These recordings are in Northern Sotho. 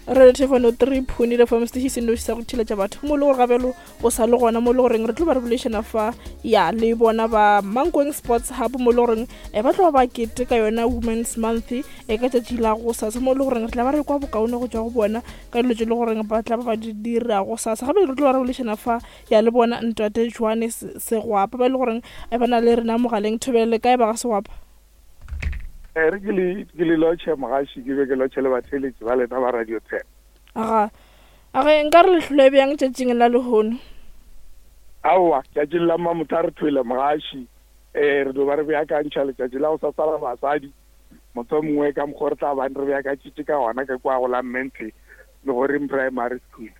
Re thefano 3 phone le fm station se noši sa go theletša batho mo le gore gabelo o sa le gona mo le goreng re tlo ba re bolešana fa ya le bona ba Mankweng Sports Hub mo le goreng eh, ba tlo ba ba kete ka yona Women's Month e ka tšatši la go sasa mo le goreng re tla ba re kwa bokaone go tšwa go bona ka dilo tše le goreng ba tla ba ba di dira go sasa. Gape re tlo ba re bolešana fa ya le bona Ntate Joane Segwapa ba e le goreng eh, ba na le rena mogaleng. Thobele kae ba ga Segwapa? E re ke le ke le lotšhe mogaši ke be ke lotšhe le batheeletši ba lena ba Radio 10. Aga, a ge nka re le hlole bjang tšatšing la lehono? Aowa, tšatšing la mmamotha re thwele mogaši. Eh, re do ba re beakantšha letšatši la go sasa la basadi. Mohlomongwe ka mokgwa re tla bang re beakantšitše ka gona ka kua go la Mmenthe Legoring Primary School.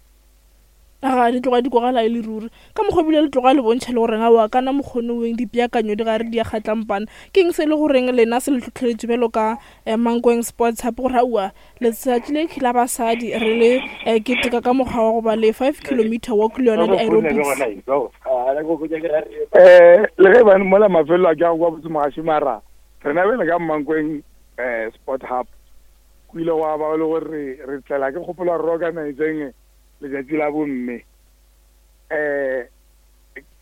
Aga di tloga di kwagala e le ruri. Ka mokgwa ebile le tloga le bontšha le goreng aowa kana mokgone weng dipeakanyo di gare di a kgatlampana. Ke eng se e le goreng lena se le hlohleletše bjalo ka eh, Mankweng Sports Hub gore aowa letsatši le la basadi re le eh, keteka ka mokgwa wa go ba le 5 kilometer walk le yona di-aerobics? Eh, le ge bane mola mafelelo a ke a go kwa botse mogaši mara rena bjale ka Mankweng eh, Sport Hub go ile gwa ba le gore re tlela ke kgopolo gore re organizeng Letšatši la bomme eh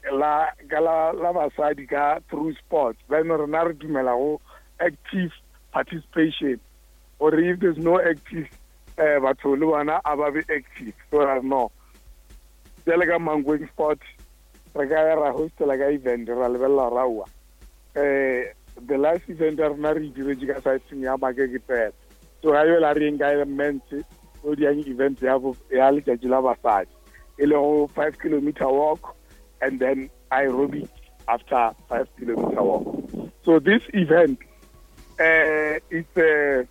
la ka la la basadi ka through sports. Then rena re dumela go active participation gore if there's no active eh batho le bona a ba be active. So ra no bjale ka Mankweng Sport re ka ya ra hostela ka event ra lebelela gore aowa eh the last event ya rena re e diretše ka siteng ya Makeke fela. So ga yola re yeng ka men's o diang event ya ya letšatši la basadi e lego 5 kilometer walk and then aerobic after 5 kilometer walk. So this event it's a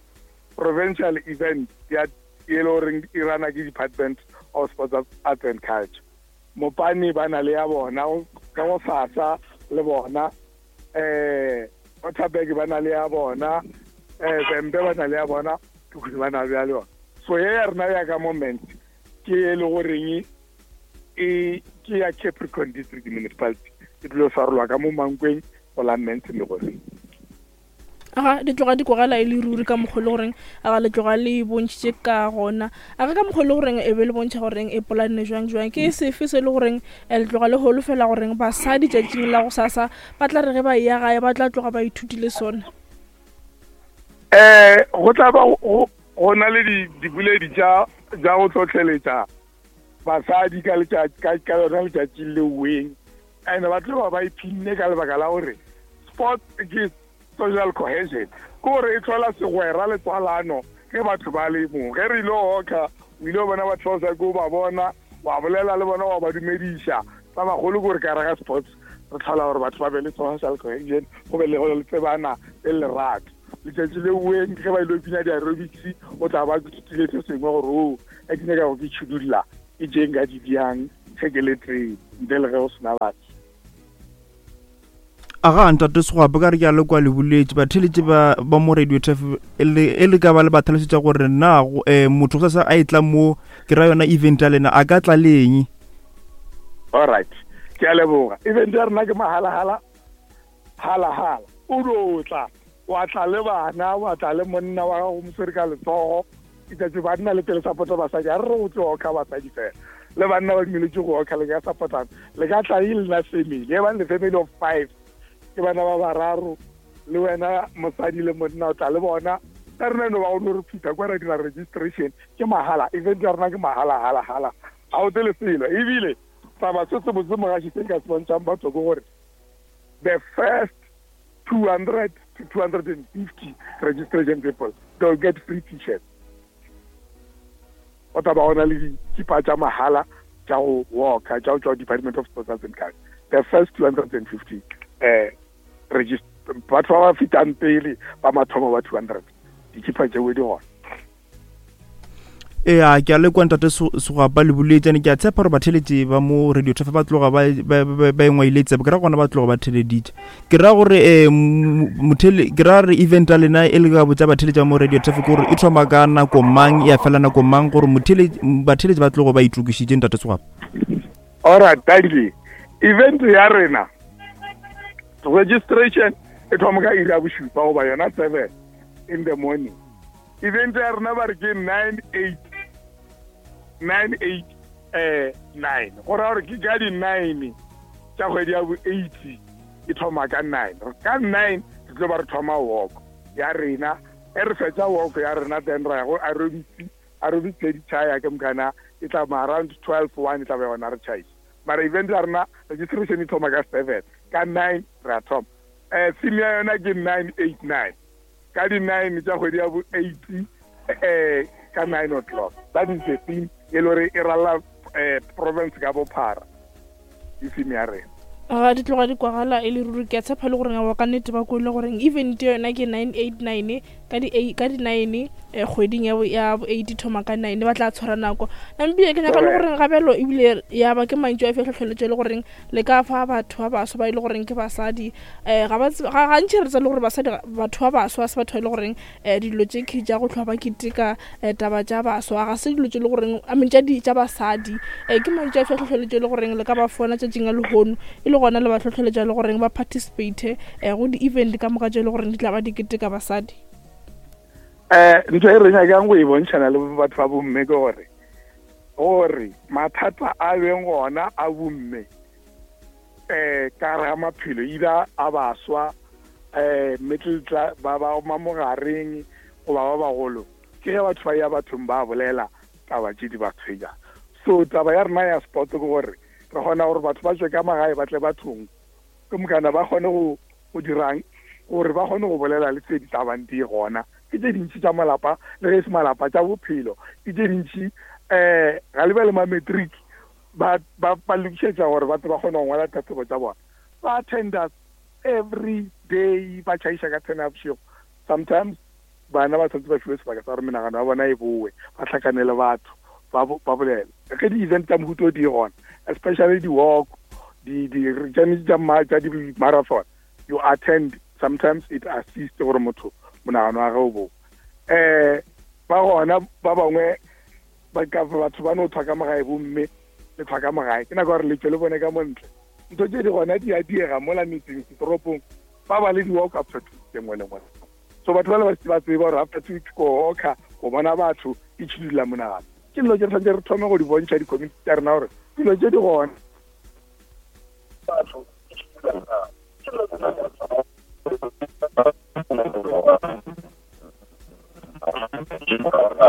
provincial event ya e le goreng e rana ke Department of Sports, Arts and Culture. Mopane ba na le ya bona ka go sasa le bona eh Waterberg ba na le ya bona eh Vhembe ba na le ya bona Tukuni ba na le ya yona. So ye ya rena ya ka moment ke e le goreng e ke ya Capricorn District Municipality e tlilo swarelwa ka mo Mankweng go la Mmentse Megoreng. Aga di tloga di kwagala e le ruri ka mokgwa le goreng aga le tloga le bontšhitše ka gona. Aga ka mokgwa le goreng e be le bontšha goreng e polanne jwang jwang. Ke sefe se le goreng eh, le tloga le holofela goreng basadi tšatšing la go sasa ba tla re ge ba eya gae ba tla tloga ba ithutile sona? Eh go tla ba go na le diboledi tša tša go hlohleletša basadi ka letšatši ka ka lona letšatši le weng and ba tlo ba ba iphinne ka lebaka la gore sport ke social cohesion, ke gore e hlola segwera le tswalano ge batho ba le mo. Ge re ile go oka, o ile go bona batho ba o sa ke o ba bona, wa bolela le bona, wa ba dumediša. Sa bagolo ke gore ka gare ga sports re tlhola gore batho ba be le social cohesion, go be le go tsebana le lerato. Letšatši le weng ge ba ile go bina di-aerobics, o tla ba ke se sengwe gore o e ke nyaka go ke tšhudulla ke tše nka di diang ge ke le tee ntle le ge go sena batho. Aga ntate Segwape ka re ke a le kwa le boletše batheletše ba ba mo radio tf e le e le ka ba le ba tlhalosetša gore na go eh, motho go sasa a e tla mo ke ra yona event ya lena a ka tla le eng. Alright, ke a leboga. Event ya rena ke mahalahala halahala. O do tla wa tla le bana wa tla le monna wa gago mo swere ka letsogo. Itse banna le pele support basadi a re re go tlo oka basadi fela. Le banna ba dumeletse go oka le ka supportana. Le ka tla e lena family. E bang le family of 5. Ke bana ba bararo le wena mosadi le monna o tla le bona. Ka rena no ba go no re phutha kwa ra dira registration ke mahala. Event ya rena ke mahala hala hala. Ga o tle le selo. Ebile taba se se botse mogaši se nka se bontšhang batho ke gore the first 200 to 250 registration people they'll get free t-shirts. O tla ba gona le dikipa tša mahala tša go walka tša go tšwa Department of Sports Arts and Culture. The first 250 eh batho ba ba fetang pele ba mathomo ba 200 dikipa tšeo di gona. Ea ke a le kwa ntate Segwapa le boletšane ke a tshepa gore batheletše ba mo radio thefa ba tloga ba engwaile tsebe ke ra gona ba tloga ba theleditše ke ra gore um mothele ke ra re event ya lena e le ka botša batheletše ba mo radio thefa ke gore e thoma ka nako mang ya fela nako mang gore batheletše ba tlogo ba itokišitše ntate Segwapa. Alright, thank you. Event ya rena registration e thoma ka iri ya bošupa goba yona 7 in the morning. Event ya rena ba re ke 9 8. 9 8 eh 9 go raya gore ke ka di-9 tša kgwedi ya bo 8 e thoma ka 9 ka 9 re tlo ba re thoma walk ya rena e re fetša walk ya rena then ra ya go aerobics aerobics le ditšhaya ke mokana e tla ma around 12 1 e tla ba yona re tšhaisa mara event ya rena registration e thoma ka 7 ka 9 re a thoma um theme ya yona ke 989 ka di-9 tša kgwedi ya bo 8 um ka 9 o'clock. That is the theme e le gore e ralla um province ka bophara, ke theme ya rena. Ga di tloga di kwagala e le ruri. Ke a tshepa le goreng awa ka nnete ba kwele goreng event yona ke 989 ka di ka di 9 kgweding ya bo ya bo 8 thoma ka 9 ba tla tshwara nako. Namibia ke nyaka le goreng gabelo ebile ya ba ke mantšu a fe tlhotlheletšo e le goreng le ka fa batho ba baswa ba e le goreng ke basadi um ga ba gantši re tsa le gore basadi batho ba baswa se batho ba e le goreng um dilo tše ke tša go tlhoa ba keteka um taba tša baswa ga se dilo tše le goreng I mean tša di tša basadi um ke mantšu a fe tlhotlheletšo e le goreng le ka ba fona tšatšing la lehono e le gona le ba tlhotlheletša le goreng ba participate um go di-event ka moka tše e le goreng di tla ba di keteka basadi. Um ntho e re nyakang go e bontšhana le batho ba bomme ke gore Gore mathata a beng gona a bomme um ka gare ga maphelo either a baswa um middle class ba ba ma mogareng goba ba bagolo ke ge batho ba ya bathong ba bolela taba tše di ba tshwenyang. So taba ya rena ya sport ke gore re kgona gore batho ba tšwe ka magae ba tle bathong ke mokana ba kgone go go dirang gore ba kgone go bolela le tse di tla bang di gona. Ke tše dintši tša malapa le ge e se malapa, tša bophelo ke tše dintši. Um ga le bjale ma-matric ba ba ba lokišetša gore ba tle ba kgone go ngwala ditlhahlobo tša bona. Ba attenda every day, ba tšhaiša ka ten ya bošego. Sometimes bana ba tshwanetse ba fiwe sebaka sa gore menagano ya bona e bowe, ba hlakane le batho, ba ba bolele. Ge di-event tša mohuta o di gona, especially di-walk, di di tša tša di-marathon, you attend, sometimes it assist gore motho monagano wa ge o bowe. Um ba gona ba bangwe ba ka batho ba no thwa ka mogae, bomme le thwa ka mogae, ke nako ya gore le tšwe le bone ka montle. Ntho tše di gona di a diega mola metseng, setoropong ba ba le di-walk after 2 weeks e nngwe le nngwe. So batho ba le ba ba tseba gore after 2 weeks ko oka go bona batho e tšhidula monagano. Ke dilo tše re tshwanetse re thome go di bontšha di-community tša rena gore dilo tše di gona. Batho e tšhidula monagano. Ke dilo tše re tshwanetse re thome go di bontšha di-community tša rena gore dilo tše di gona. Batho e tšhidula monagano.